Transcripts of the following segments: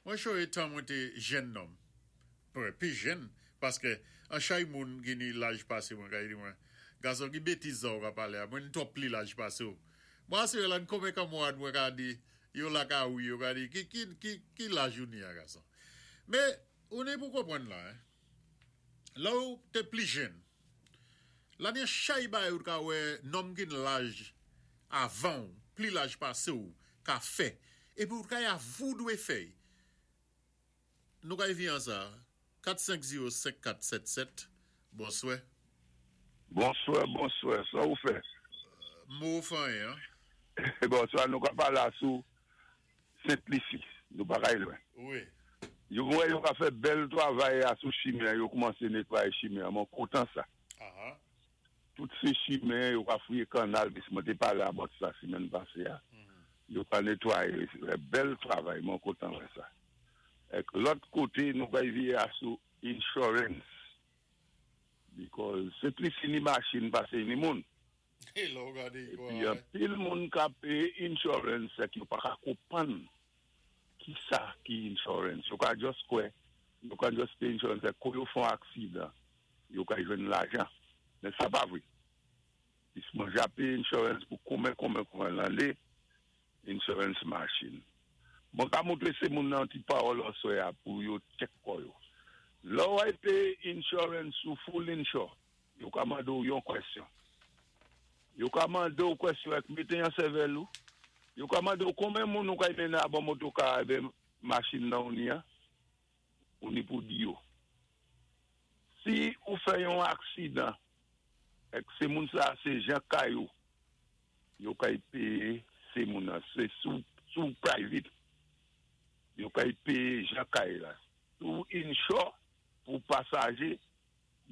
Mwen chonjé tan mwen té jenn nonm. Mwen pi jenn, paské an chay moun ki ni laj pasé mwen kay di mwen, Gason ki bétiz sa ou ka palé a, mwen twòp pli laj pasé ou. Mwen asiré la n konben kanmwad mwen ka di yo la ka wi, yo ka di ki ki ki ki laj ou ni a gason. Men, ou ni pou konprann la, lè ou té pli jenn, la ni an chay bagay ou t ka wè nonm ki n laj avan ou, pli laj pasé ou ka fè, épi ou t ka avou dwé fè y. Nou kay vi an sa. 4 5 0 5 4 7 7 Bonswè. Bonswè bonswè sa ou fè. Mo fanyen an. Bonswa nou ka pale sou sent lisi nou pa kay lwen. Wi. Yo mwen yo ka fè bèl travay a sou chimen an yo koumanse netwaye chimen an mwen kontan sa. Tout se chimen yo ka fouye kannal pis mwen te pale about sa semèn pase a yo ka netwaye bèl travay mwen kontan wè sa. Ek lòt koté nou kay véyé a sou insurance because se plis ni machin pasé ni moun. Épi anpil moun ka péyé insurance ek yo paka konpwann kisa ki insurance. Yo ka just kwè yo ka just péyé insurance ek kou yo fè yon aksidan yo ka jwenn lajan. Men sa pa vwé. Pis mwen ja péyé insurance pou konben konben konben lanné. Insurance machine. Mwen ka moutré sé moun nan yon ti pawòl aswè a pou yo check kò yo. Lè w ay péyé insurance ou full insure, yo ka mandé w yon kwèsyon. Yo ka mandé w kwèsyon ak mété yan sèvèl ou. Yo ka mandé w konben moun ou kay mennen abò motoka a èben machin nan ou ni an, ou ni pou di yo. Si ou fè yon aksidan èk sé moun sa a sé jan kay ou, Yo kay peye se moun nan se si w private yo kay peye jan kay la si w insure pou pasaje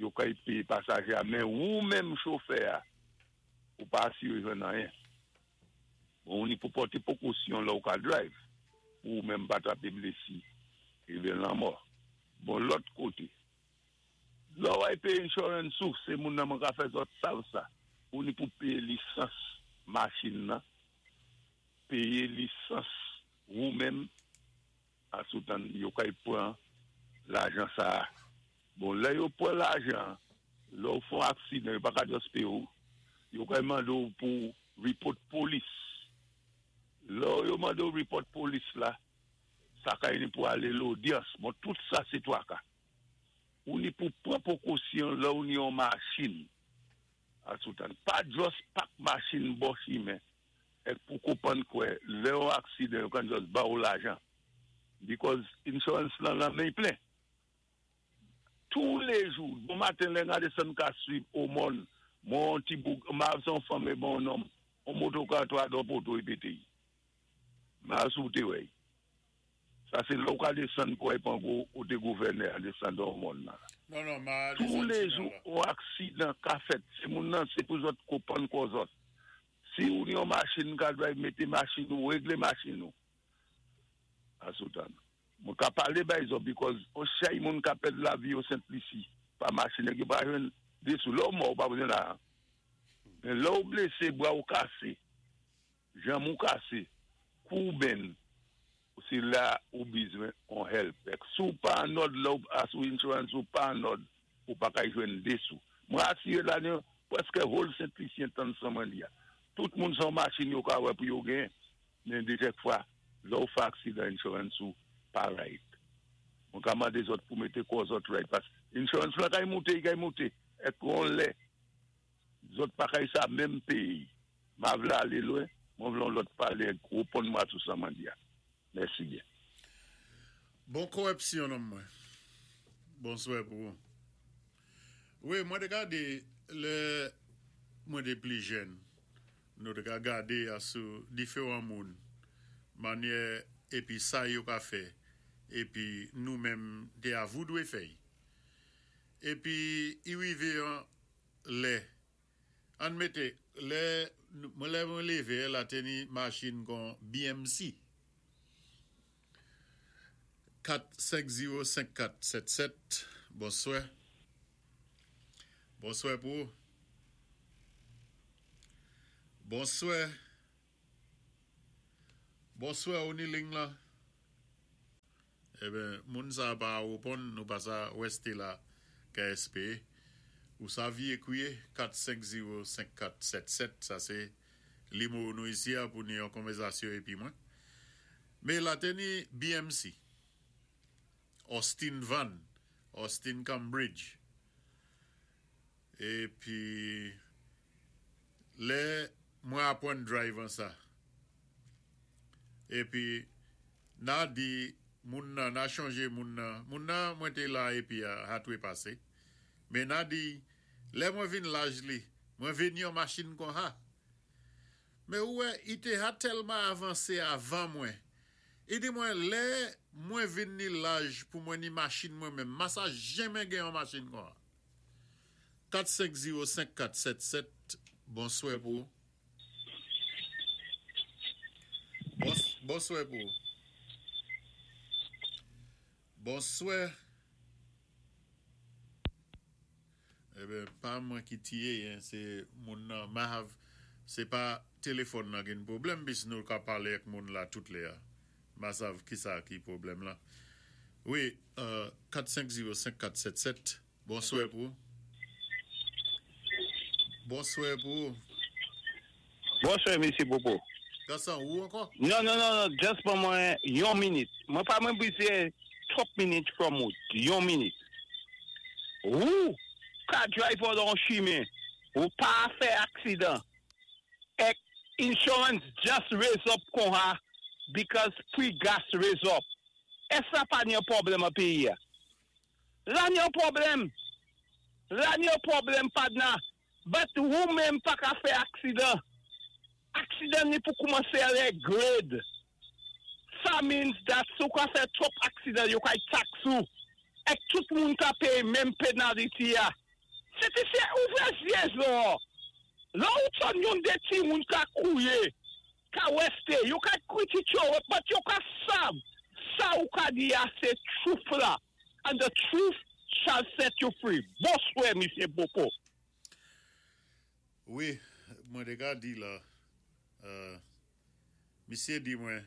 yo kay peye pasaje a men wou menm chofè a ou pa asire jwenn anyen bon ou ni pou pòte pokosyon lè w ka drive pou ou menm pa trape blesi rive lanmò bon lòt kote. Lè w ay peye insurance ou, se moun nan mwen ka fè zòt sav sa. Ou ni pou peye lisans machin nan, peye lisans wou menm asoutan yo kay pran lajan sa a. Bon lè yo pran lajan an, lè w fon aksidan yo pa ka just peye w, yo kay mande w pou report polis. Lè yo mande w report polis la, sa kay ni pou ale lodyans. Bon tout sa se twaka. Ou ni pou pran pokosyon lè ou ni yon machin a sou tann. Pa just pak machin bò chimen ek pou konpann kwè lè yon aksidan yo kan just ba ou lajan because insurance lan lan men plen. Tou le jou, bon maten lè nga desann ka swiv omòn mwen yon ti boug ma se yon fanm e bon yon nonm yon motoka 3 dò poto e pete y. Ma si ou te wè y. Sa se lè ou ka desann pou ay pran gwo kote gouvènè a desann dò mòn nan. Non non ma a desann Toulejou sinal la. on aksidan ka fèt se moun nan se pou zòt konpann kò zòt. Si ou gen yon machin ka drive mete machin ou regle machin ou. Asoutan. Mwen ka pale bay zòt because on chay moun ka pèd lavi yo Sent Lisi pa machin nèg yo pa jwenn de sou. Lè ou mò ou pa bezwen lajan. Men lè ou blese bra ou kase. Janm ou kase, kou ou benn, se la ou bizwen on help. Ek si w pa an òd lè w a sou insurance ou pa an òd, ou pa kay jwenn de sou. Mwen asire la nou prèske whole Sent Lisyen tann san mwen li a. Tout moun se yon machin yo ka wè pou yo gen, men de kèk fwa lè ou fè aksidan insurance ou pa right. Mwen ka mande zòt pou mete kò zòt right paske insurance lan kay moute, i kay moute. Ek on lè zòt pa kay sa menm peyi. Ma vlé alé lwen, mwen vlé yon lòt palé ak reponn mwa sou sa mwen di a. Mèsi byen. Bon korèpsyon nonm mwen. Bonswè pou ou. Wi mwen te gade lè mwen te pli jèn nou te ka gade a sou diferan moun manyè epi sa yo ka fè epi nou menm te avou dwe fèy epi i rive yon lè Ann mete, lè mwen lè mwen leve la te ni machin kon BMC 4 5 0 5 4 7 7 bonswè bonswè pou ou bonswè bonswè ou ni ling lan. Eben, moun sa pa reponn, nou pa sa wèste la KSP. Ou sa vi ékwiye 450 5477, sa sé limo nou isi a pou ni yon konvèzasyon épi mwen. Mé la té ni BMC, Austin Van, Austin Cambridge. Épi lè mwen apwann drive an sa. Épi na di moun nan, na chonjé moun nan, moun nan mwen té la épi a hatwe pasé. Mé na di lè mwen vinn laj li, mwen vé ni yon machin kon ha. Mé ou wè, i té ha tèlman avansé avan mwen. I di mwen lè mwen vinn ni laj pou mwen ni machin mwen menm, ma sa jenmen gen yon machin kon ha. 4 5 0 5 4 7 7 Bonswè pou ou. Bonswè pou ou. Bonswè. Eben, pa mwen ki tiye yen, sé moun nan, ma hav, sé pa téléfòn nan gin pwoblèm, pis nou ka palé ak moun la tout lè a. Ma sav ki sa ki pwoblèm la. Wi, 4 5 0 5 4 7 7, bonswè pou ou. Bonswè pou ou. Bonswè Mesye Popo. Gason, ou ankò? Non, non, non, non, just ban mwen yon minit. Mwen pa mwen bizwen twòp minit from ou. Yon minit. Ou ka drive an chimen, ou pa fè aksidan. Ek insurance just raise up kon ha because pri gas raise up. Ès la pa ni yon pwoblèm an péyi ya? La ni yon pwoblèm. La ni yon pwoblèm padna. But ou menm pa ka fè aksidan. Aksidan ni pou koumansé réglé. Sa means that si ou ka fè twòp aksidan, yo kay tax ou. Ek tout moun ka péyé menm penalty ya. Se ti sé ouvré zyé zo. La ou tann yon dé ti moun ka kwouyé, ka wèsté, yo ka kritike yo, but yo ka sav. Sa ou ka di ya sé truth la. And the truth shall set you free. Bonswè, Misye Popo. Wi, mwen té ka di la, misye di mwen,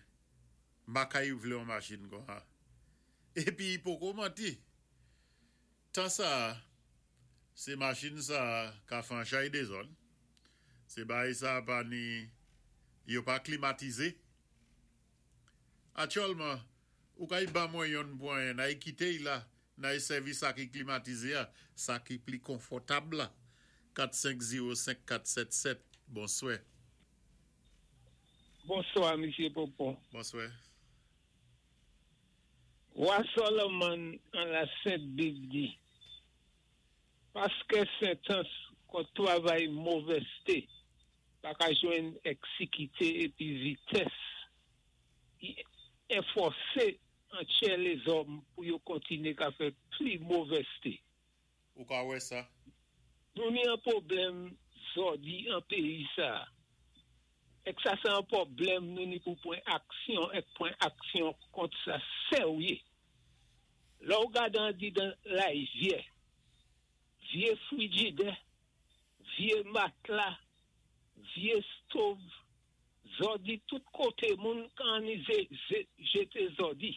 ma kay vlé yon machin kon ha. Épi i poko manti. Tan sa, sé machin sa ka fè an chay dézòd. Sé bagay sa pa ni, yo pa klimatizé. Aktyèlman, ou kay ban mwen yonn pou anyen, nay kité y la, nay sèvi sa ki klimatizé a, sa ki pli konfòtab la. 4 5 0 5 4 7 7, bonswè. Bonswa, Misye Popo. Bonswè. Wa Solomon an la Sent Bib di, paskè sentans kont twavay movèzté pa ka jwenn èksikité épi vitès ki enfòsé antyè lézòm pou yo kontiné ka fè pli movèzté. Ou ka wè sa? Nou ni an pwoblèm zòdi an péyi sa. Ek sa sé an pwoblèm nou ni pou pwan aksyon ek pwan aksyon kont sa sèwyé. Lè ou gad andidan layvyè, vyé frijidè, vyé matla, vyé stove, zòdi tout koté moun kan ni jété zòdi.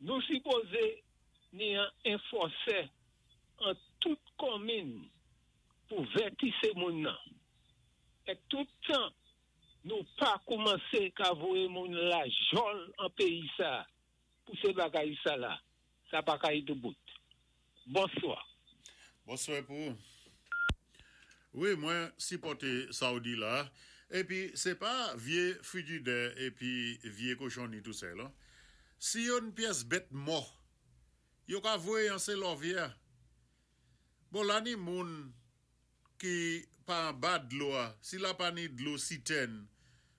Nou sipozé ni an enfòsè an tout konminn pou vètisé moun nan. Ek tout tan nou pa koumansé ka voyé moun lajòl an péyi sa pou sé bagay sa la, sa pa kay doubout. Bonswa. Bonswè pou ou. Wi, mwen sipòté sa ou di la. Épi sé pa vyé frijidè épi vyé kochonni tou sèl. Si yo n pyès bèt mò, yo ka voyé an sé lòvyè. Bon la ni moun ki pa anba dlo a, si la pa ni dlo sitèn,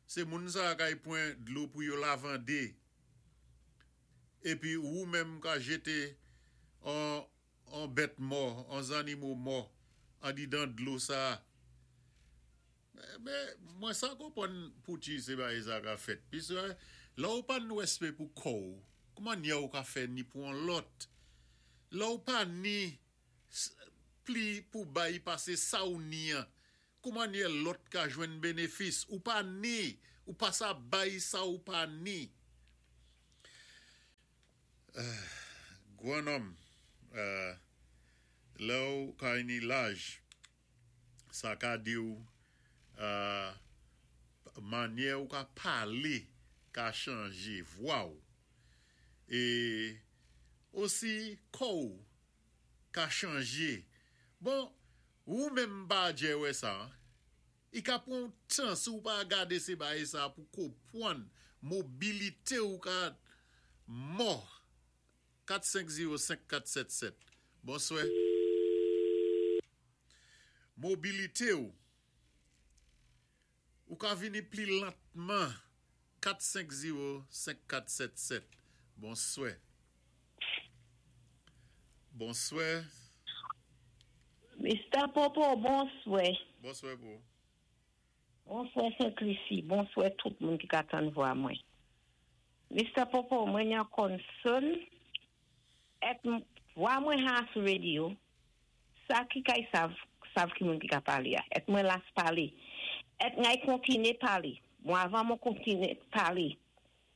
sé moun sa kay pwan dlo pou yo lavandé. Épi ou menm ka jété an an bèt mò, an zannimo mò, andidan dlo sa. Mé mwen sa konpwann pouti sé bagay sa ka fèt. Pis lè ou pa ni wèspè pou kò ou, kouman nyè ou ka fè ni pou an lòt? Lè ou pa ni pli pou bay pasé sa ou ni an, kouman nyè lòt ka jwenn bénéfis? Ou pa ni, ou pa sa bay sa ou pa ni. Gwan nonm, lè-w ka ni laj, sa ka di-w manyè ou ka palé ka chanjé, vwa-w, é osi kò-w ka chanjé. Bon, wou menm pa djè wè sa. I ka pran-w tan si w pa gadé sé bagay sa pou konpwann mobilité ou ka mò. 4 5 0 5 4 7 7 Bonswè. Mobilité ou ou ka vini pli lantman 4 5 0 5 4 7 7 Bonswè. Bonswè. Mister Popo bonswè. Bonswè pou ou. Bonswè Sent Lisi, bonswè tout moun ki ka tann vwa mwen. Mister Popo mwen yan concern et vwa mwen ha sou radio sa ki kay sav sav ki moun ki ka palé a et mwen las palé et ngay kontiné palé bon avan mwen kontiné palé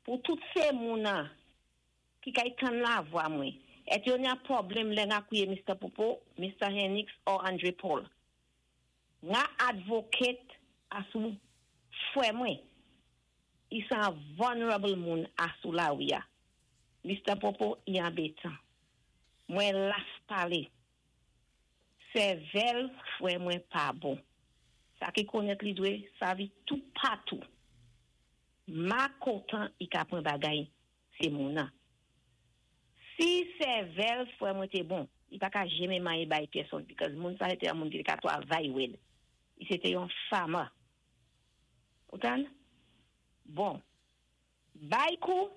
pou tout sé moun an ki kay tann la vwa mwen et yo nya pwoblèm lè nga kouye Mister Popo, Mister Hennix or Andre Paul nga advocate asou fwè mwen i sa vulnerable moun asou lawi a Mister Popo i anbetan mwen las pale sèvèl fwè mwen pa bon sa ki konèt li dwé savi tou patou ma kontan i ka pran bagay sé moun an si sèvèl fwè mwen té bon i pa ka jenmen manyen bay pèsonn because moun sa sé té yon moun ki té ka twavay wèd i sé té yon farmer ou tann bon bay kou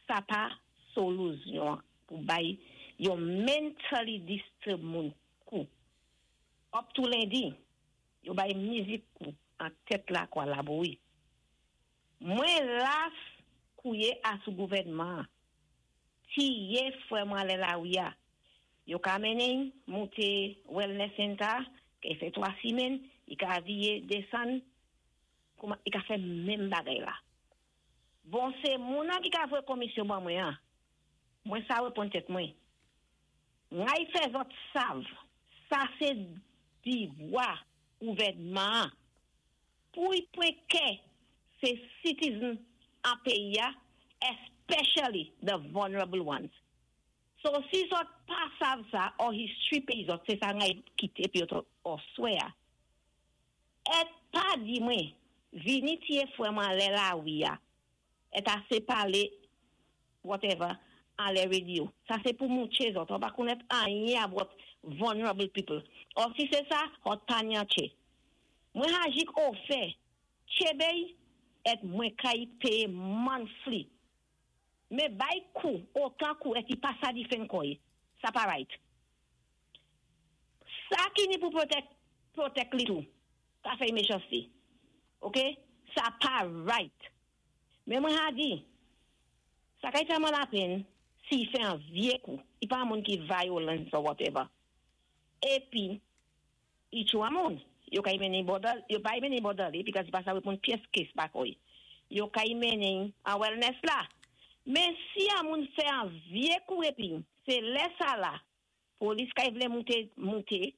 sa pa soluzyon pou bay yon mentally disturb moun kou up to lendi yo bay mizik kou an tèt la kwa laboui mwen las kouye asou gouvèdman tiye fwè mwen lè lawi a yo ka mennen monté wellness center ki fè 3 simèn i ka viye desann kouman i ka fè menm bagay la bon sé moun an ki ka voye komisyon ban mwen an mwen sa reponn tèt mwen ngay fè zòt sav sa sé divwa gouvèdman pou y pwen kè sé citizen an peyi a especially the vulnerable ones. So si zòt pa sav sa or history peyi zòt sé sa ngay kité pi yo or swè a. Et pa di mwen vini tiye fwè mwen lè lawi a et asé palé whatever an lè radio. Sa sé pou moutché zòt. Ou pa konèt anyen about vulnerable people. Or si sé sa, ot pa nyan tché. Mwen hajik ofè tché et mwen kay péyé monthly. Men bay kou, otan kou et i pa sa di fen koy. Sa pa right. Sa ki ni pou protect, protect li tou. Ka fè méchanceté. Ok? Sa pa right. Men mwen ha di, sa kay fè mwen la pen, si i fè an vyé kou, i pa moun ki violence or whatever. Épi, i tchou a moun. Yo kay mennen border, yo pa mennen border li, because i pa sa reponn pyès case pa koy. Yo kay mennen an wellness la. Men si a moun fè an vyé kou épi, sé lè sa la, polis kay vlé monté, monté,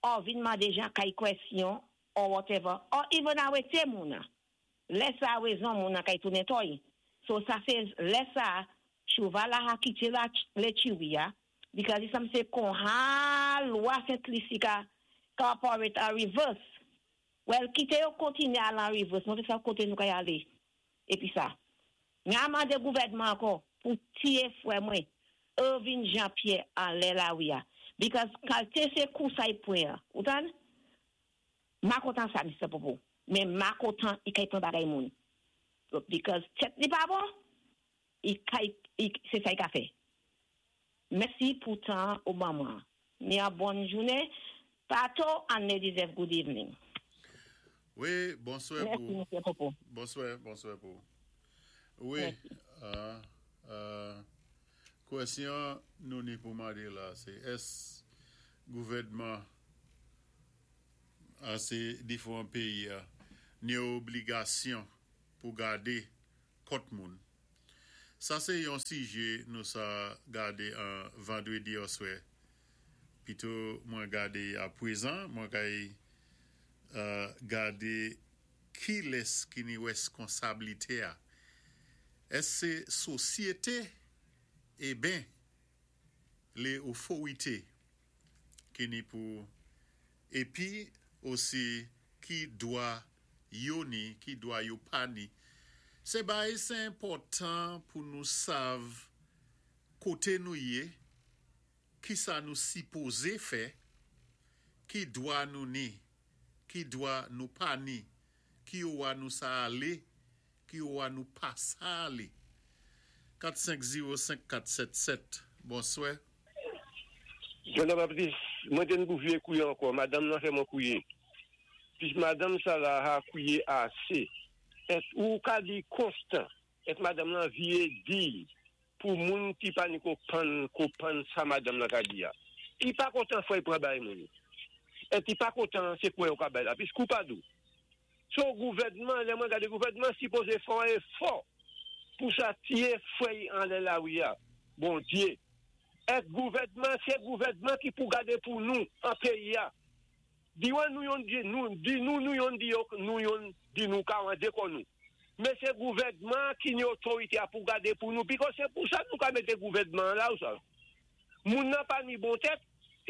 or vin mandé jan kay kwèsyon, or whatever, or even arété moun an. Lè sa wézon moun an kay tounen toy. So sa sé lè sa, chouval la ha kité la lé chiwi a, because i sam sé kon ha lwa Sent Lisi ka ka operate a reverse. Well, kité yo kontiné al an reverse, mwen fè sa koté nou kay alé. Épi sa. Nga mandé gouvèdman ankò pou tiye fwè mwen, Irving Jean-Pierre an lè lawi a. Because kalté sé kou sa i pwen an. Ou tann? Ma kontan sa, Mr. Popo. Men ma kontan i kay pran bagay moun. Because tèt li pa bon, i kay, i, sé sa i ka fè. Mèsi pou tan ou ban mwen. Ni a bòn jounen. Pato and ladies have good evening. Wi, bonswè Mèsi, pou. Mr. Popo. Bonswè, bonswè pou. Wi, Mèsi. Kwèsyon nou ni pou mandé la, sé ès gouvèdman a sé diféwan péyi a ni obligasyon pou gadé kont moun. Sa sé yon sijé nou sa gadé an vandrédi òswè. Pito mwen gadé a pwézan, mwen kay gadé kilès ki ni wèskonsablité a. Ès sé sosyété eben lé oforité ki ni pou épi osi ki dwa yo ni, ki dwa yo pa ni. Se bay se enpòtan pou nou sav kote nou ye, kisa nou sipoze fè, ki dwa nou ni, ki dwa nou pa ni, ki owa nou sa ale, ki owa nou pa sa ale. 4 5 0 5 4 7 7 Bonswè. Jean Baptiste, mwen te n pou vye kouye ankò, madanm nan fè mwen kouye. Pis madanm sa la ha kwiye ase et ou ka di konstan et madanm lan vye diy pou moun ki pa ni ko pann ko pann sa madanm lan ka di a. I pa kontan fòy pran bay moun et i pa kontan se kwè yo ka bay la pis kou pa dou. So gouvènman lè mwen gade gouvènman sipoze fè yon efò pou sa tiye frèy anlè lari a Bondye et gouvènman se gouvènman ki pou gade pou nou an peyi a. Di wan nou yonn di nou di nou nou yonn di yo nou yonn di nou ka rande kò nou. Men se gouvènman an ki ni otorite a pou gade pou nou bikò se pou sa nou ka mete gouvènman an la ou sa. Moun nan pa ni bon tèt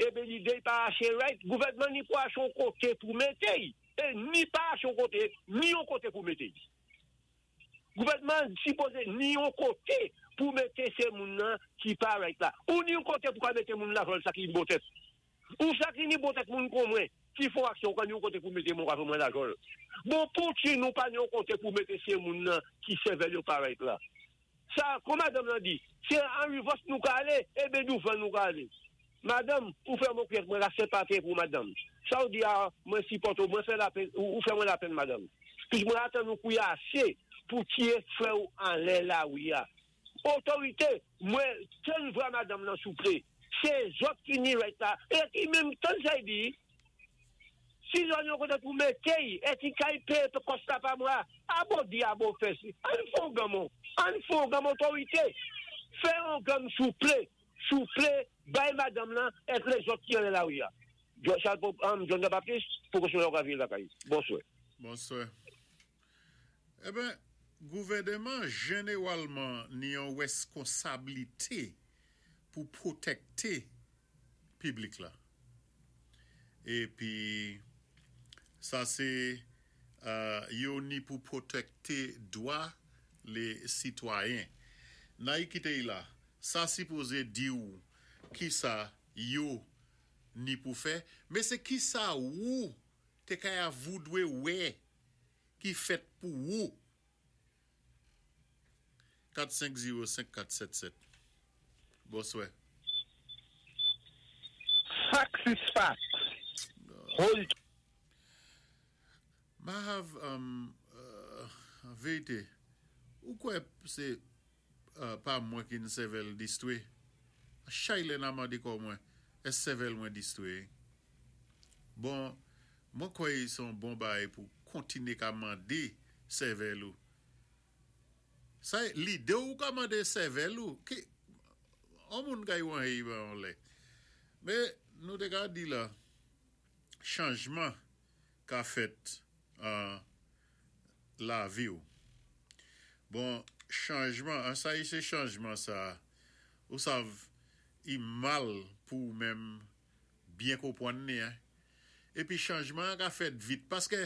eben lide y pa ase right gouvènman ni pou ache yon kote pou mete y e ni pa ache yon kote ni yon kote pou mete y. Gouvènman an sipoze ni yon kote pou mete se moun nan ki pa right la. Ou ni yon kote pou ka mete moun la vòl sa ki ni bon tèt. Ou sa ki ni bon tèt moun kon mwen ki fon aksyon ou ka ni yon kote pou mete mwen ou ka fè mwen lajòl. Bon pouki nou pa ni yon kote pou mete se moun nan ki sèvèl yo pa right la. Sa kon madanm lan di se an rivòs nou ka ale eben douvan nou ka ale. Madanm ou fè mwen kwè mwen la senpati pou madanm. Sa ou di a mwen sipòte ou mwen fè lapenn ou fè mwen lapenn madanm. Pis mwen atann ou kouye ase pou tiye frè ou anlè lari a. Otorite mwen tann vwa madanm lan souple se zòt ki ni right la e ki menm tann sa y di si zòn yon kote pou mete y e ki kay peye p kòs la pa mwa a bon di a bon fè si ann fon ganm on ann fon ganm otorite fè yon ganm souple souple bay madanm lan et lezòt ki anlè lari a John Jean Baptiste poko sou lè ou ka vire lakay bonswè. Bonswè. Eben, gouvèneman jenewalman ni yon weskonsablite pou pwotèkte piblik la. Epi, sa se yo ni pou pwotèkte dwa le sitwayen. Nay kite y la, sa sipoze di w kisa yo ni pou fè, men se kisa wou te kay a voudwe wè ki fèt pou wou. 4 5 0 5 4 7 7 Bonswè. Facts is facts. Hold. Ma have um verite ou kwè se pa mwen ki n sèvèl distwe chay lè na mande kò mwen es sèvèl mwen distwe bon Mwen kwè se yon bon bagay pou kontinye ka mande sèvèl ou. Sa e lide ou ka mande sèvèl ou. Ki yon moun ka yon hey ba yon lè. Men nou te ka di la chanjman ka fèt an lavi ou. Bon chanjman an sa e se chanjman sa ou sav i mal pou ou menm byen konpwann li hein. Epi chanjman an ka fèt vit paske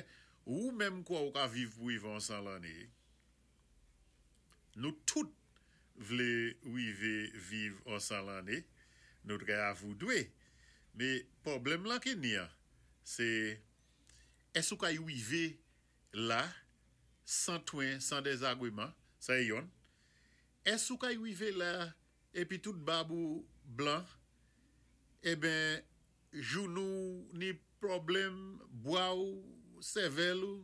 ou menm kwè ou ka viv pou rive yon 100 lanne. Nou tout vle rive viv yon 100 lanne, nou trè avoudwe. Me pwoblèm lan ki ni an se èske ou ka rive la san twen, san dezagreman, sa e yonn. Èske ou ka rive la epi tout bab ou blan eben jounou w ni pwoblèm bwa w sèvèl ou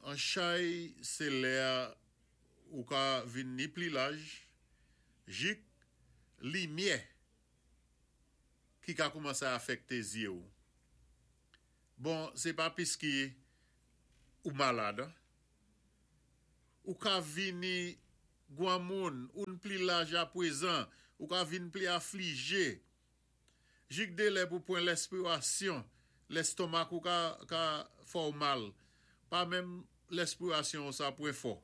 an chay se lè a ou ka vin ni pli laj jik limyè ki ka koumanse afèkte zye w bon se pa piske ou malad an ou ka vini. gwanmoun, ou-n pli laj apwézan, ou ka vin pli aflijé. Jik dé lè pou pwan lèspirasyon, lèstonmak ou ka ka fè-w mal. Pa menm lèspirasyon-w sa pwen fò.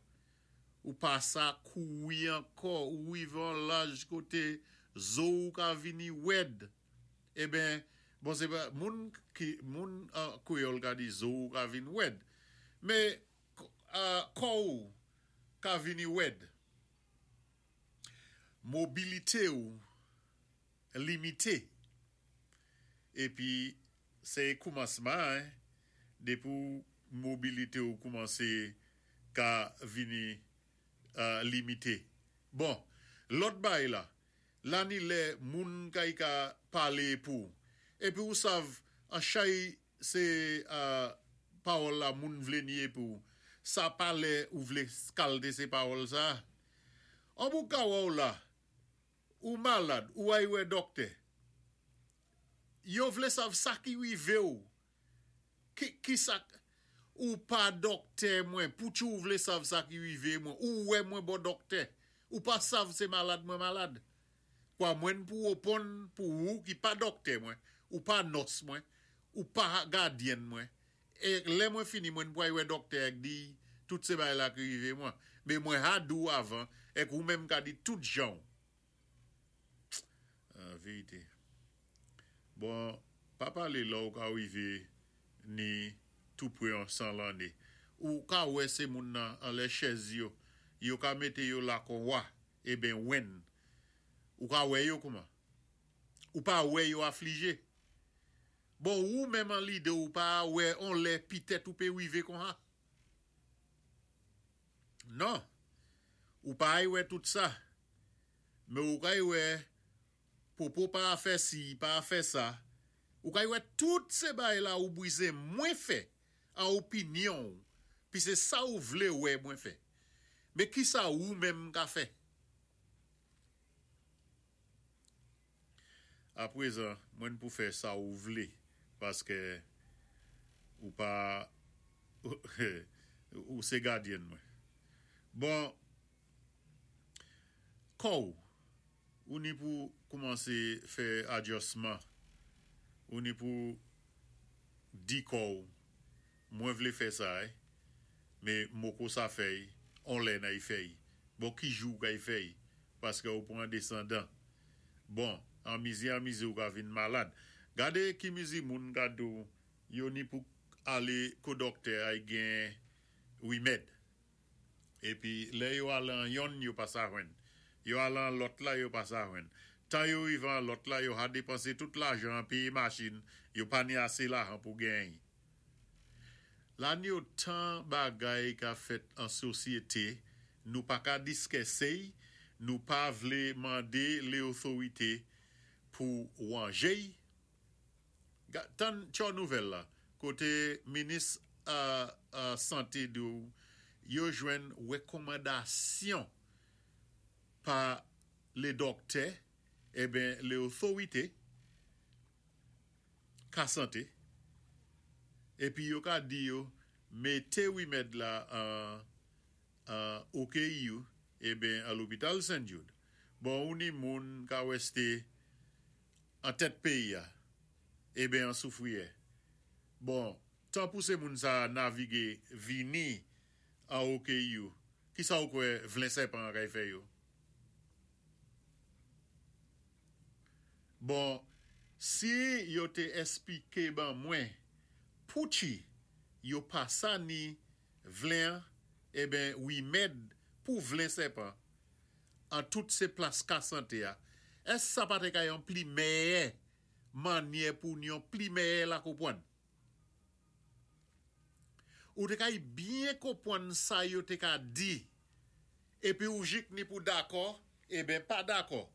Ou pa sa kouri ankò, ou rivé on laj koté zo-w ka vini wèd. Eben, bon sé pa moun ki moun an kwéyòl ka di zo-w ka vin wèd. Men kò-w ka vini wèd. Mobilité-w limité. Épi sé koumansman an, dépi w mobilité-w koumansé ka vini limité. Bon, lòt bagay la, la ni lè moun kay ka palé pou. Épi ou sav an chay sé pawòl la moun vlé ni épi w sa pa lè ou vlé skalte sé pawòl sa. An pou ka wè w la, ou malad, ou ay wè dòktè. Yo vlé sav sa ki rivé w Ki kisa Ou pa dòktè mwen pouki ou vle sav sa ki rive mwen ou wè mwen bò dòktè ou pa sav se malad mwen malad kwa mwen pou woponn pou ou ki pa dòktè mwen ou pa nòs mwen ou pa gadyenn mwen e lè mwen fini mwen pway wè dòktè èk diy tout se bagay la ki rive mwen me mwen ha di w avan èk ou menm ka di tout jan w Verite. Bon, pa pale lè ou ka rive ni tou pre an 100 lanne. Ou ka wè se moun nan anlè chèz yo, yo ka mete yo la kon wa, eben wenn. Ou ka wè yo kouman? Ou pa wè yo aflije? Bon, ou menm an lide ou pa wè on lè pitèt ou pe rive kon ha? Non, ou pa ay wè tout sa. Men ou kay wè popo pa a fè si, pa a fè sa. Ou kay wè tout se bagay la ou brize mwen fè an opinyon ou, pi se sa ou vle wè mwen fè. Men kisa ou menm ka fè? Aprezan, mwen pou fè sa ou vle, paske ou pa ou se gadyen mwen. Bon, kò ou, ou ni pou koumanse fè adjòsman, ou ni pou di kò ou, mwen vle fè sa eh, me moko sa fèy, on lè nay fèy. Bon, ki jou ou kay fèy? Paske ou pran desandan. Bon, an mizi an mizi ou ka vin malad. Gade ki mizi moun ka di w yo ni pou ale ko dòktè ay gen rimèd. Epi lè yo al an yonn yo pa sa jwenn. Yo al an lòt la yo pa sa jwenn. Tan yo rive an lòt la yo ha depanse tout lajan an peye machin, yo pa ni ase lajan pou genyen. La ni otan bagay ka fèt an sosyete, nou pa ka diskèsey, nou pa vle mande leothorite pou wanjey. Tann tchò nouvèl la, kote minis sante di w yo jwenn rekòmandasyon pa le dòktè, eben leothorite. Ka sante, epi yo ka di yo mete rimèd la an an OKU eben an lopital St. Jude. Bon ou ni moun ka weste an tèt peyi a eben an soufriyè. Bon tan pou se moun sa navige vini an OKU kisa ou kwè vlen sèpan an kay fè yo? Bon si yo te esplike ban mwen pouki yo pa sa ni vlen an eben rimèd pou vlen sèpan an tout se plas ka sante a èske sa pa te ka yon pli mèyè mannyè pou n yon pli mèyè la konpwann? Ou te kay byen konpwann sa yo te ka di epi ou jik ni pou dakò eben pa dakò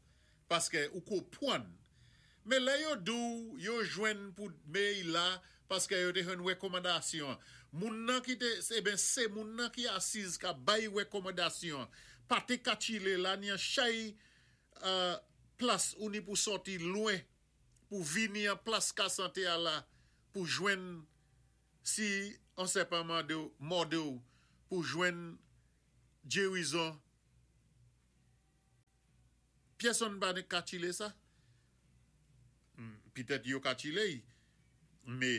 paske ou konpwann. Men lè yo di w yo jwenn pou dmey la paske yo te jwenn rekòmandasyon an. Moun nan ki te eben se moun nan ki asiz ka bay rekòmandasyon an pa te ka chile la ni an chay plas ou ni pou sòti lwen pou vini an plas ka sante a la pou jwenn si on sèpan mande w mòde w pou jwenn gerizon. Pyèsonn pa ni katchilé sa. Pitèt yo katchilé-y, mé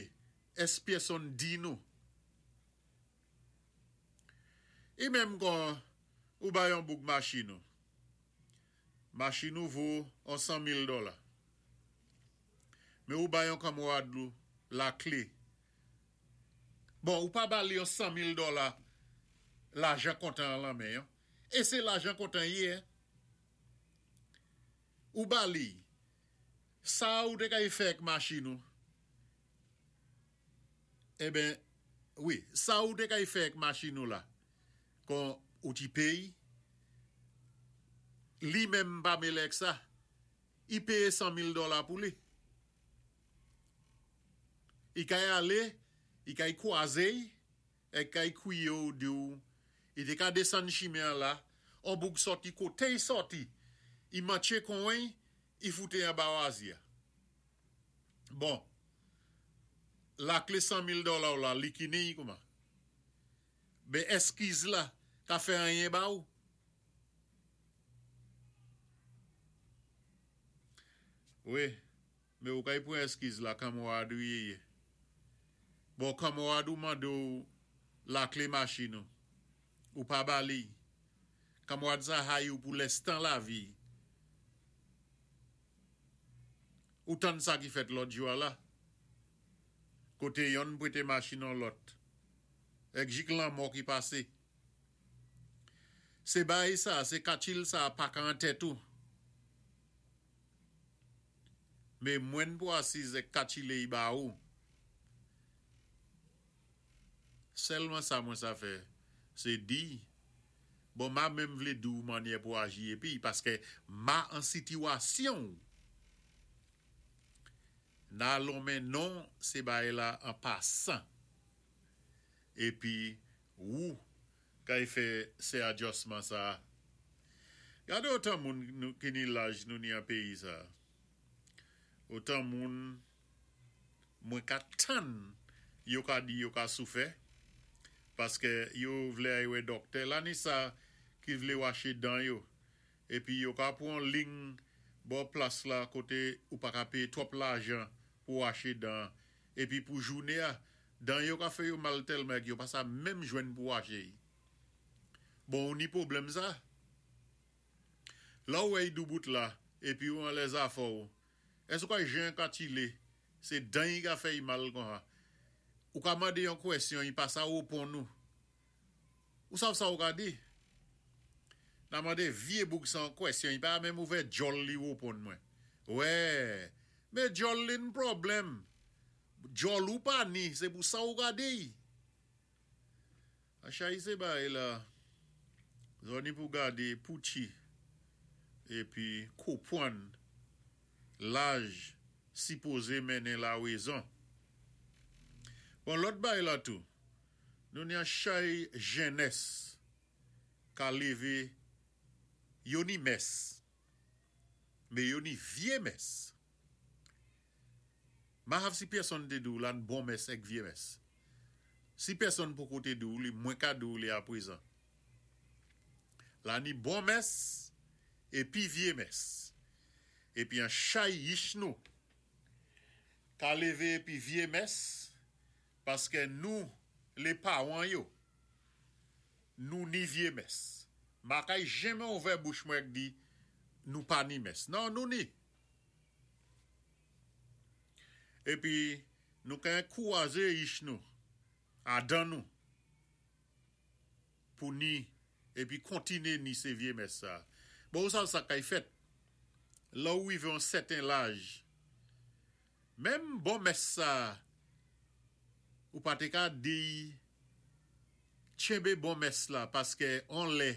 ès pyèsonn di nou? I menm kon ou bay on boug machin ou. Machin ou vo on 100,000 dòla. Men ou bay on kanmwad ou lakle. Bon, ou pa ba li on 100,000 dòla lajan kontan an lan men an. É sé lajan kontan i yé. Ou ba li. Sa ou té kay fè ak machin ou. Enben, wi, sa ou té kay fè ak machin ou la, kon ou ti péyi, li menm pa mélé ak sa. I péyé 100,000 dòla pou li. I kay alé, i kay kwazé-y, èk kay kwiyé-w di-w i té ka désann chimen an la, on boug sòti koté-y sòti, i mantché konwen-y, i foute anba wazi a. Bon, lakle 100,000 dòla w la li kini-y kouman? Ben èskiz la ka fè anyen ba ou? Wi, men ou kay pran èskiz la kanmwad ou ye ye. Bon, kanmwad ou mande w lakle machin ou, ou pa ba li. Kanmwad sa hayi w pou lèstan lavi. Ou tann sa ki fèt lòt jou a la? Koté yonn pwété machin on lòt. Èk jik lanmò ki pasé. Sé baay sa, sé katchil sa pa ka an tèt ou. Mé mwenn pou asiz èk katchilé y ba ou. Sèlman sa mwen sa fè, sé di, bon ma menm vlé di w mannyè pou aji épi paskè ma an sitiwasyon w. Na lonmen non sé baay la an pasan. Épi wou kay fè sé adjòsman sa. Gadé otan moun ki ni laj nou ni an péyi sa. Otan moun mwen ka tann yo ka di yo ka soufè paskè yo vlé ay wè dòktè la ni sa ki vlé waché dan yo épi yo ka pwan ling bò plas la koté ou pa ka péyé twòp lajan pou waché dan épi pou jouné a dan yo ka fè yo mal tèlman èk yo pa sa menm jwenn pou waché y bon ou ni pwoblèm sa lè ou wè y doubout la épi ou anlè zafè w Èske ou ka jan ka tile se dan yi ka fè yi mal konsa. Ou ka mande yon kwèsyon yi pa sa reponn ou. Ou sav sa ou ka di? Na mande vye boug sa yon kwèsyon yi pa menm ouvè djòl li reponn mwen. Wè! Me djòl li n pwoblèm. Djòl ou pa ni se pou sa ou ka di y. Achayi se bay la zòni pou gade poutchi epi kopwann laj sipoze mennen la rezon. Bon lòt bay la tou nou ni achay jennès ka leve yo ni mès me yo ni vye mès. Mahav si pèsonn té di w la n bon mès èk vyé mès. Si pèsonn poko té di w li mwen ka di w li aprezan. La ni bon mès épi vyé mès. Épi an chay yich nou ka lévé épi vyé mès paskè nou lé pawan yo nou ni vyé mès. Ma kay jenmen ouvè bouch mwen èk di nou pa ni mès. Non nou ni. Epi nou ka enkouraje yich nou, a dan nou, pou ni, epi kontine ni se vye mès sa. Bon, ou sav sa kay fèt, lè ou rive yon sèten laj, menm bon mès sa, ou pa te ka diy tchenbe bon mès la, paske on lè,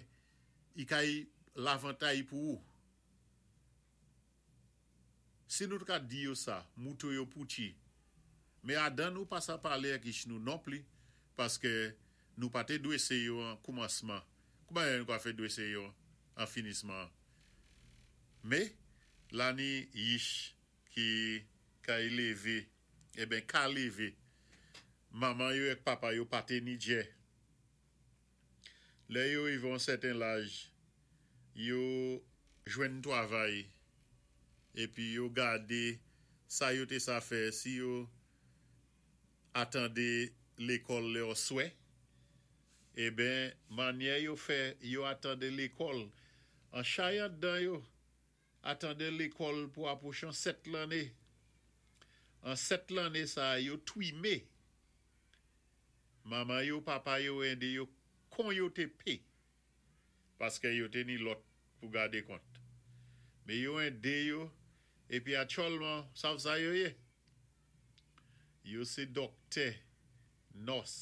i kay lavantay pou ou. Si nou t ka di yo sa, mouto yo pouchi. Men adan nou pa sa pale ak ich nou nonpli, paske nou pa te dwese yo an koumansman, kouman nou ka fè dwese yo an finisman an? Me, la ni yich ki kay leve, eben ka leve, manman yo ek papa yo pa te ni djè. Lè yo rive yon sèten laj, yo. jwenn twavay épi yo gadé sa yo té sa fè si yo atandé lékòl lè oswè eben mannyè yo fè yo atandé lékòl an chay andan yo atandé lékòl pou apwochan 7 lanné an 7 lanné sa yo twimé manman yo papa yo ende yo kon yo té pé. Paskè yo té ni lòt pou gadé kont. Mé yo édé yo épi aktyèlman sav sa yo yé? Yo sé dòktè, nòs.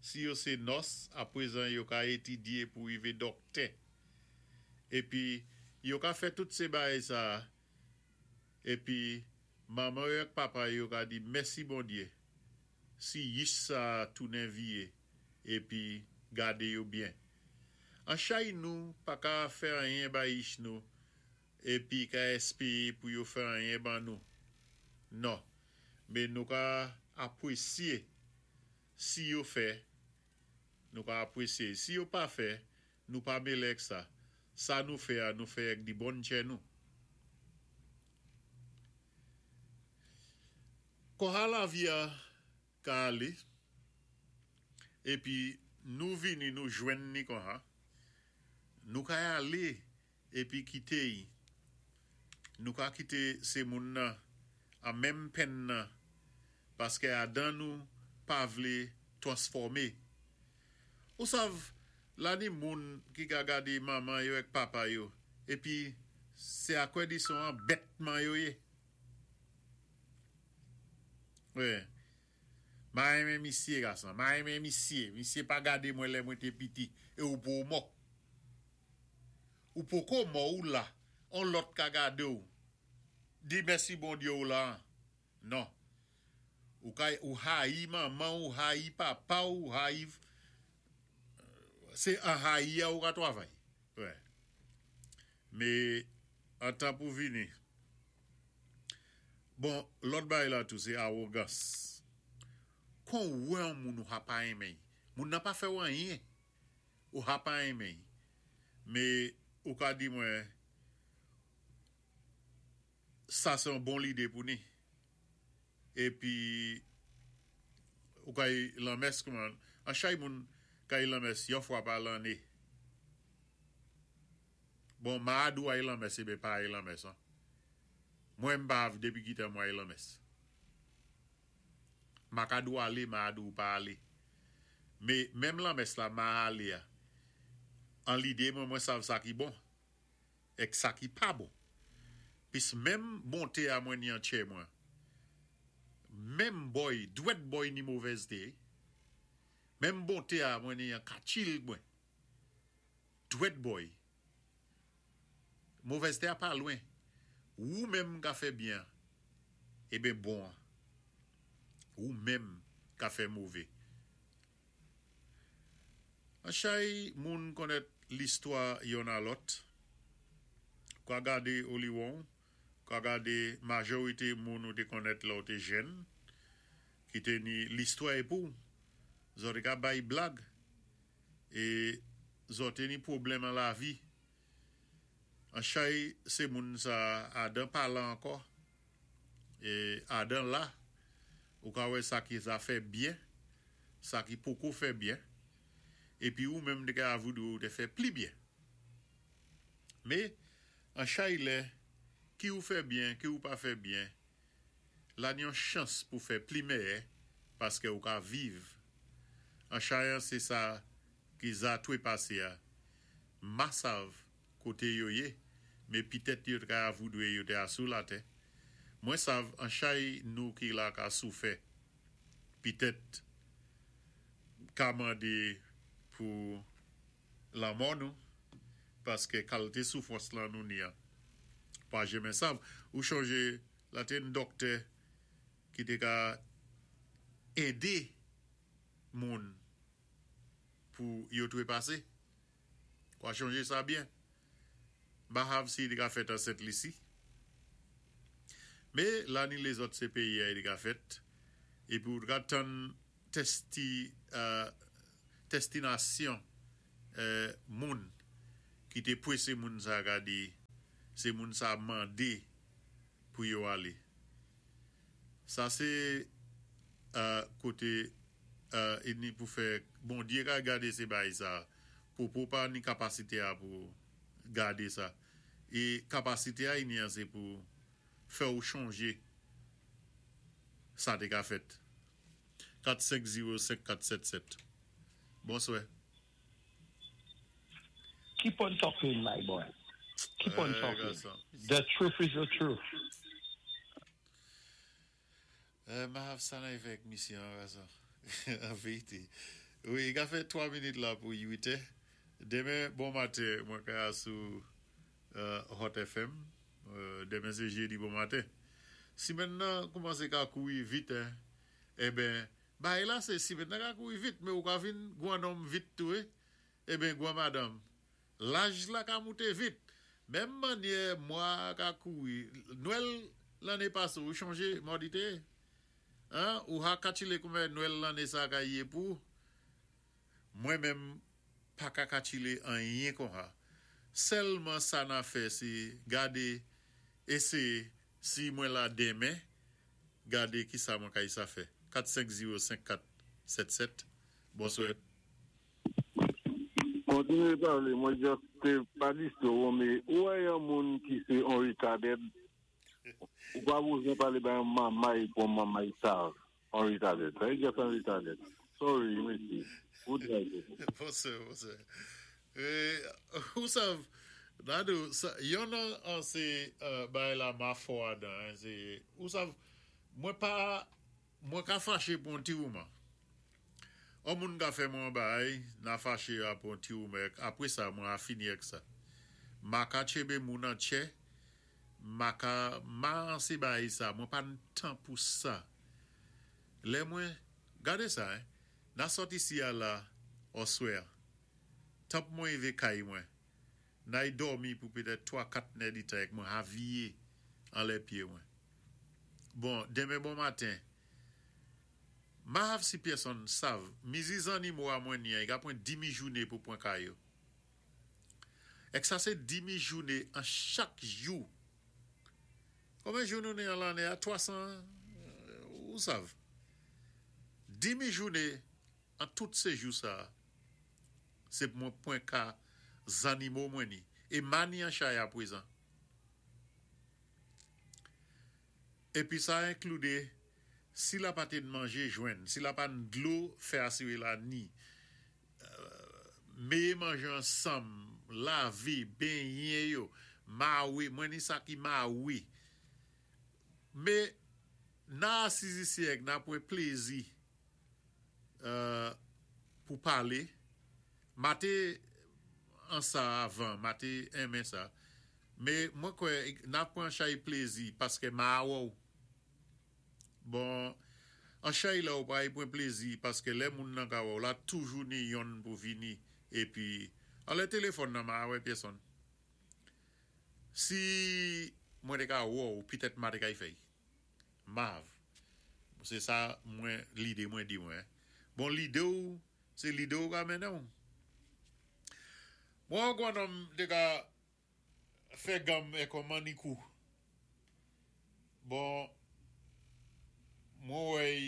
Si yo sé nòs, apwézan yo ka étidyé pou wivé dòktè. Épi yo ka fè tout sé baay sa a épi manman yo ak papa yo ka di mèsi Bondyé si yich sa a tounen viyé épi gadé yo byen. An chay nou pa ka fè anyen ba yich nou épi ka èspéé pou yo fè anyen ban nou. Non, mé nou ka apwésyé si yo fè, nou ka apwésyé. Si yo pa fè, nou pa mélé ak sa. Sa nou fè a, nou fè ak di bon tchè nou. Konha lavi a ka alé, épi nou vini nou jwenn ni konha, nou ka alé épi kité y, nou ka kité sé moun nan an menm penn nan paskè adan nou pa vlé twansfòmé. Ou sav la ni moun ki ka gadé manman yo èk papa yo épi sé akwè di son an bètman yo yé. Wi. Ma renmen misye gason. Ma renmen misye. Misye pa gade mwen lè mwen te piti. E ou po mò. Ou poko mò ou la. On lòt ka gade ou. Di mèsi Bondye ou la an. Non. Ou ka ou hayi manman ou hayi papa ou hayi se an hayi a ou ka twavay. Wi. Me an tan pou vini. Bon, lòt bagay la tou sé awogans. Kon ou wè on moun ou ha pa renmen y, moun nan pa fè ou anyen, ou ha pa renmen y, mé ou ka di mwen sa sé on bon lidé pou ni. Épi ou ka y lanmès kouman, an chay moun ka y lanmès yon fwa pa lanné. Bon, ma a di ou ay lanmès eben pa ay lanmès an. Mwen m pa av depi ki tan mwen ay lanmès. Ma ka di w ale, ma a di w pa ale. Me menm lanmès la ma ale a, an lide mwen mwen sav sa ki bon èk sa ki pa bon. Pis menm bonte a mwen ni an tchè mwen. Menm bòy, dwèt bòy ni movèzte. Menm bonte a mwen ni an katchil mwen. Dwèt bòy. Movèzte a pa lwen. Wou menm ka fè byen an, eben bon an. Wou menm ka fè move. An chay moun konnèt listwa yonn a lòt. Ou ka gade oliwon, ou ka gade majorite moun ou te konnèt lè ou te jèn, ki te ni listwa e pou. Zò te ka bay blag. E zò te ni pwoblèm an lavi. An chay se moun sa Adan pa la ankò. E Adan la, ou ka wè sa ki zafè byen, sa ki poko fè byen. Epi ou menm te ka avoudre ou te fè pli byen. Me, an chay lè, ki ou fè byen, ki ou pa fè byen, la ni yon chans pou fè pli mèyè paskè ou ka viv. An chay an se sa ki zatwe pase a. Ma sav koté yo yé, mé pitèt yo t ka avoudwé yo té asou latè. Mwen sav an chay nou ki la ka soufè, pitèt ka mandé pou lanmò nou, paskè kalté soufwans lan nou ni an pa jenmen sav. Ou chonjé la té yn dòktè ki té ka édé moun pou yo trepase. Wa chonje sa byen. M pa sav si li ka fèt an Sent Lisi. Me la ni lezòt se peyi a li ka fèt. Epi ou ka tann testi testinasyon moun. Ki té pwésé moun sa ka di sé moun sa mandé pou yo alé. Sa sé koté ni pou fè Bondyé ka gadé sé bay sa. Popo pa ni kapasité a pou gadé sa. É kapasité a ni an sé pou fè ou chonjé sa té ka fèt. 4 5 0 5 4 7 7 Bonswè. Keep on talking my boy. Keep on talking. The truth is the truth. Ma sa nan avèk misye an gason. An vérité. Wi, i ka fè 3 minit la pou 8 è. Denmen bon maten mwen ka sou Hot FM. Denmen sé jédi bon maten. Simèn nan koumansé ka kouri vit hein. Eben, bagay la sé simèn nan ka kouri vit men ou ka vin gwan nonm vit tou wi. Eben gwan madanm. Laj la ka moute vit. Menm mannyè mwa a ka kouri. Nwèl lanné pasé ou chonjé mòd i té yé? Hein, ou ha katchilé koumen nwèl lanné sa ka yé pou ou? Mwen menm paka katchilé anyen konha. Sèlman sa na fè sé gadé éséyé si mwen la denmen gadé kisa mwen ka isa fè. 4 5 0 5 4 7 7 Bonswè. Kontinye pale mwen just te pa distrew ou me ou wè yon moun ki se on retarded ou pa bozwen pale bay yon mamay pou yon mamay sal on retarded sa just on retarded sorry mesye good night Bonsè bonsè ou sav Dadou yon nan an se bagay la ma fò adan se ou sav mwen pa Mwen ka faché pou on ti wouman. On moun ka fè mwen on bagay, na faché a pou on ti wouman èk apwé sa mwen a fini èk sa. Ma ka tchébé moun an tchè, ma ka ma an sé bagay sa, mwen pa n tan pou sa. Lè mwen, gadé sa hein, na sòt isi a la òswè an, tanp mwen ivé kay mwen, nay dòmi pou pétèt 3, 4 nè di tan èk mwen a viyé anlè pyé mwen. Bon, denmen bon maten, ma hav si pyèsonn sav, mizi zannimo a mwen ni an, i ka pran dimi joune pou pran ka yo. Èk sa sé dimi joune an chak jou. Konben jou nou ni an lanné a? 300, ou sav. Dimi joune an tout sé jou sa a, sé pou mwen pran ka zannimo mwen ni. É ma ni an chay apwézan. Épi sa inklude si la pa té n manjé jwenn, si la pa n dlo fè asiré la ni, méyé manjé ansanm, lavé, benyen yo, mawé, mwen ni sa ki mawé. Mé nan asiz isi èk na pwan plézi pou palé, ma té an sa avan, ma té enmen sa. Mé mwen kwè na pwan chay plézi paskè ma wè-w. Bon, an chay la ou pray pwan plézi paskè lè moun nan ka wè-w la toujou ni yonn pou vini épi anlè téléfòn nan ma wè pyèsonn. Si mwen té ka wè-w pitèt ma té kay fè-y. Mav. Sé sa mwen lidé mwen di mwen. Bon lidé-w sé lidé-w ka mennen-w. Mwen an gwan nonm té ka fè ganm èk on mannikou. Bon, mwen wè y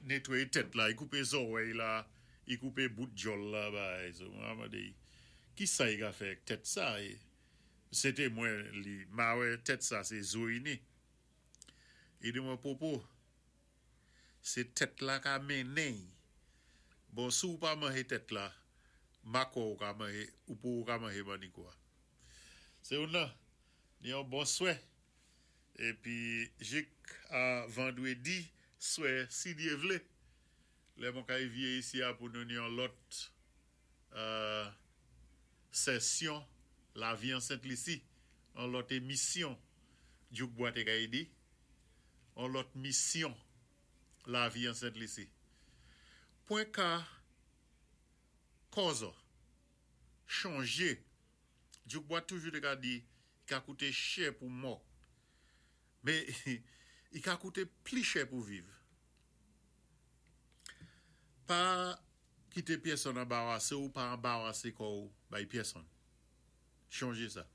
netwaye tèt la, y koupé zòwèy la, y koupé bout djòl la bagay so mwen ap mande y kisa y ka fè èk tèt sa e se te mwen li ma wè tèt sa se zo y ni. Y di mwen Popo se tèt la ka mennen y. Bon si w pa manje tèt la, ma kwè ou ka manje ou pou ou ka manje mannikou a. Se youn nan, ni yon bon swè. Épi jik a vandwédi swè si Dyé vlé, lè mwen kay viyé isi a pou nou ni yon lòt sèsyon Lavi an Sent Lisi, yon lòt émisyon Dyouk Bwa té kay di, yon lòt misyon Lavi an Sent Lisi. Pwen ka kòzò chonje Dyouk Bwa toujou te ka di i ka koute chè pou mò men i ka koute pli chè pou viv. Pa kite pyèsonn anbarase w, pa anbarase kò w bay pyèsonn. Chonjé sa.